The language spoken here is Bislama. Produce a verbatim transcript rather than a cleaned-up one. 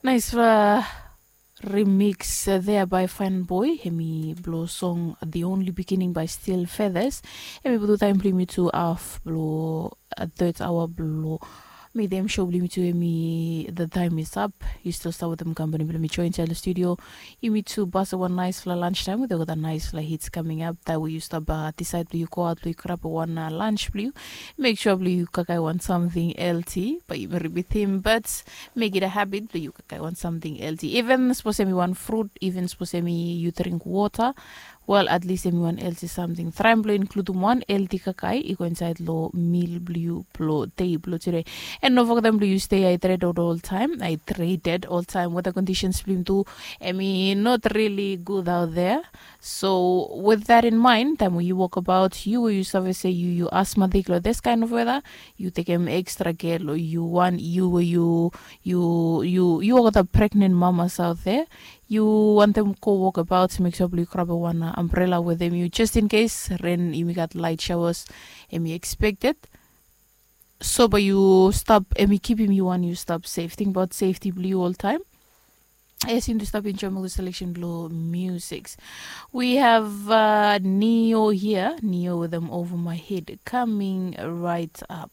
Naisfala remix there by Fine Boy, hemi blong song The Only Beginning by Steel Feathers. Hemi putum taem blong yumi tu haf blong third hour blong midem show blong yumi tu, hemi the time is up. Yu stil stap wetem kampani blong mi join insait long studio. Yumi tu pasem wan naisfala lunch taem wetem olgeta naisfala hits coming up. Taem we yu stap disaed blong yu go aot blong yu grab wan lunch blong yu, mek sua blong yu kakae wan samting healthy. Bae yumi ripitim, but mek it a habit blong yu kakae wan samting healthy. Even sapos hemi wan frut, even sapos hemi yu dring wota, wel, at least hemi wan healthy samting. Traem blong inkludim wan healthy kakae i go insait long mil blong yu blong dei blong tude. And no fogetem blong yu stay hydrated oltaem, hydrated oltaem. Weather conditions blong yumi tu, hemi not really good out there. So with that in mind, taem we yu wokbaot, yu we yu save se yu yu asthmatic long this kind of weather, yu tekem extra care long yu wan, yu we yu yu yu yu olgeta pregnant mamas out there, yu wantem go wokbaot, mek sua blong yu grab wan umbrella wetem yu, just in case ren, yumi gat light showers, hemi expected. So bae yu stap, hemi kipim yu wan yu stap safe. Tingbaot safety blong yu oltaem. Yes, yumi tu stap enjoem ol selection blong musics. We have uh, Neo here. Neo wetem Over My Head coming right up.